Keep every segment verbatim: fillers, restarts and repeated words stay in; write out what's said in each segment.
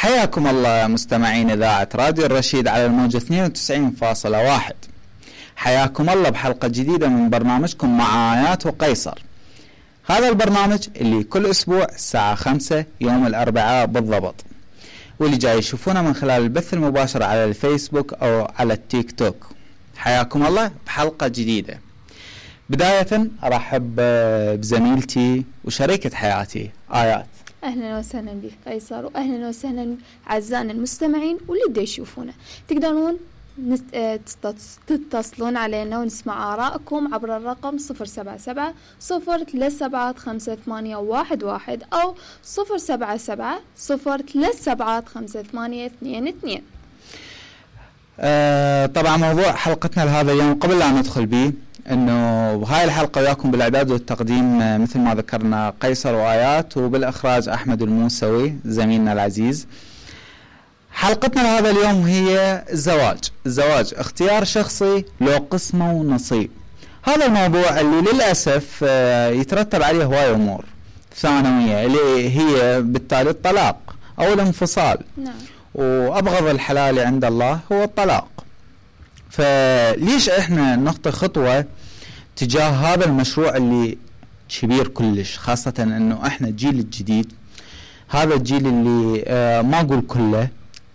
حياكم الله مستمعين إذاعة راديو الرشيد على الموجة اثنين وتسعين فاصلة واحد. حياكم الله بحلقة جديدة من برنامجكم مع آيات وقيصر. هذا البرنامج اللي كل أسبوع الساعة خمسة يوم الأربعاء بالضبط، واللي جاي يشوفونا من خلال البث المباشر على الفيسبوك أو على التيك توك. حياكم الله بحلقة جديدة. بداية أرحب بزميلتي وشريكة حياتي آيات. أهلا وسهلا بك قيصر، وأهلا وسهلا أعزائنا المستمعين واللي دا يشوفونا. تقدرون تتصلون علينا ونسمع آراءكم عبر الرقم صفر سبعة سبعة صفر ثلاثة سبعة خمسة ثمانية واحد واحد أو صفر سبعة سبعة صفر ثلاثة سبعة خمسة ثمانية اثنين اثنين. آه طبعا موضوع حلقتنا لهذا اليوم قبل لا ندخل به، انه بهاي الحلقة وياكم بالاعداد والتقديم مثل ما ذكرنا قيصر وآيات، وبالاخراج احمد الموسوي زميلنا العزيز. حلقتنا لهذا اليوم هي الزواج. الزواج اختيار شخصي لو قسمه ونصيب. هذا الموضوع اللي للاسف يترتب عليه هواي امور ثانوية اللي هي بالتالي الطلاق او الانفصال. نعم. وابغض الحلال عند الله هو الطلاق. فليش احنا نخطي خطوة تجاه هذا المشروع اللي كبير كلش، خاصة انه احنا الجيل الجديد، هذا الجيل اللي اه ما اقول كله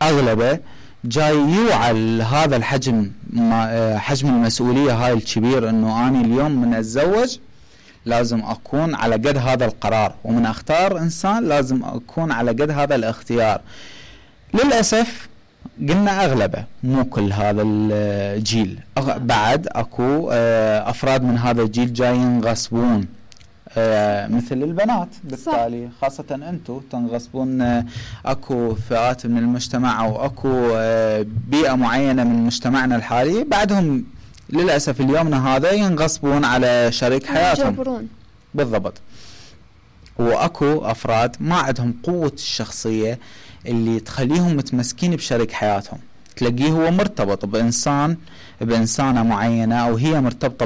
اغلبه جاي يوعى هذا الحجم، اه حجم المسؤولية هاي الكبير، انه اني اليوم من اتزوج لازم اكون على قد هذا القرار، ومن اختار انسان لازم اكون على قد هذا الاختيار. للأسف قلنا أغلبه مو كل هذا الجيل، بعد أكو أفراد من هذا الجيل جايين ينغصبون مثل البنات بالتالي، خاصة أنتم تنغصبون. أكو فئات من المجتمع أو أكو بيئة معينة من مجتمعنا الحالي بعدهم للأسف اليومنا هذا ينغصبون على شريك حياتهم. يجبرون. بالضبط. وأكو أفراد ما عندهم قوة الشخصية اللي تخليهم متمسكين بشريك حياتهم، تلاقيه هو مرتبط بإنسان بإنسانة معينة أو هي مرتبطة